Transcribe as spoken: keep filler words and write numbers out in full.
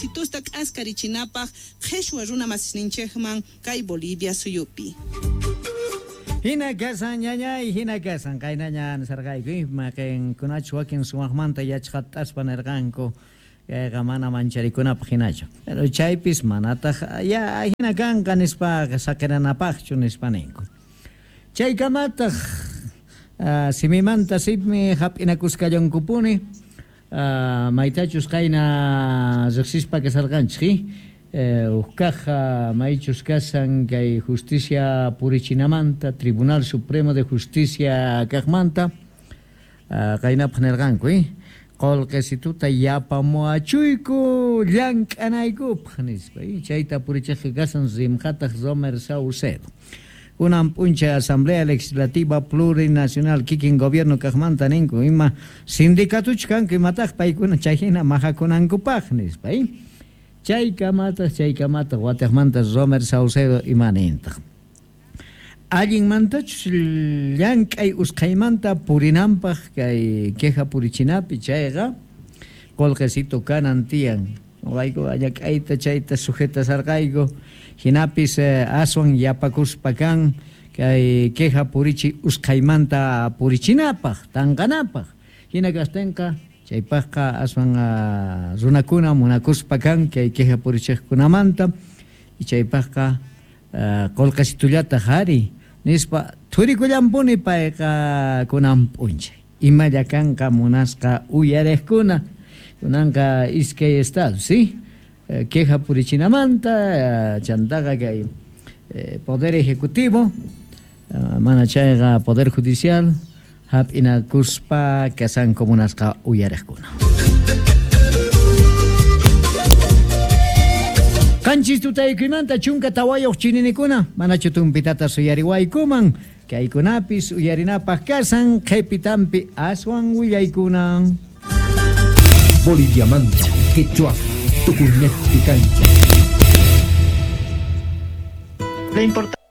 qolqesitusta k'askarichinapaq qheshwa runa masisninchikman kay Bolivia suyupi. Hina kasan ñañay, hina kasan qaynaña nisarqayku maqinkunachu wakin sumaqmanta yachqataspa nirqanku kayqa mana mancharikunapaq hinachu. Pero chaypis manataq ya hina kanqa nispa saqiranapaqchu nispa ninku. Chaykamataq uh, simimanta simi hap'inakuskallankupuni uh, maytachus qayna riqsispa kasarqanchik eh, uqkaqa maychus kasan kay justicia purichinamanta Tribunal Supremo de Justicia kaqmanta uh, qaynapaq nirqanku eh? Qolqesituta yapamuachuyku llank'anaykupaq nispa eh? Chayta purichiqqa kasan rimqataq Romer Saucedo. Kunan p'unchay Asamblea Legislativa Plurinacional kikin gobierno kaqmanta ninku ima sindicatuchu kanku imataq paykuna chayhina majakunankupaq nispa eh? Chaykamataq chaykamataq wataqmanta Romer Saucedo imanintaq allinmantachus llank'ay usqhaymanta purinanpaq kay queja purichinapi chayqa qolqesito kanan tiyan wayku allak'ayta chayta sujetasarqayku hinapis eh, aswan yapakuspa kan kay queja purichi usqhaymanta purichinapaq tanqanapaq hina kastinqa chaypaqqa aswan uh, runakuna munakuspa kan kay queja purichiqkunamanta y chaypaqqa uh, qolqesitullataq ari nispa thurikullampuni payqa kunan p'unchay imalla kanqa munasqa uyariqkuna kunanqa iskay estado sí eh, queja purichinamanta eh, chantaqa kay eh, poder ejecutivo eh, mana chayqa poder judicial hap'inakuspa kasanku munasqa uyariqkuna. Qanchis tutaykuymanta chunka tawayuq chininikuna manachu tumpitata suyariwaykuman kaykunapis uyarinapaq kasan qhipitampi aswan willaykunan. Boliviamanta, quechua, tukuynejpi kancha. La importancia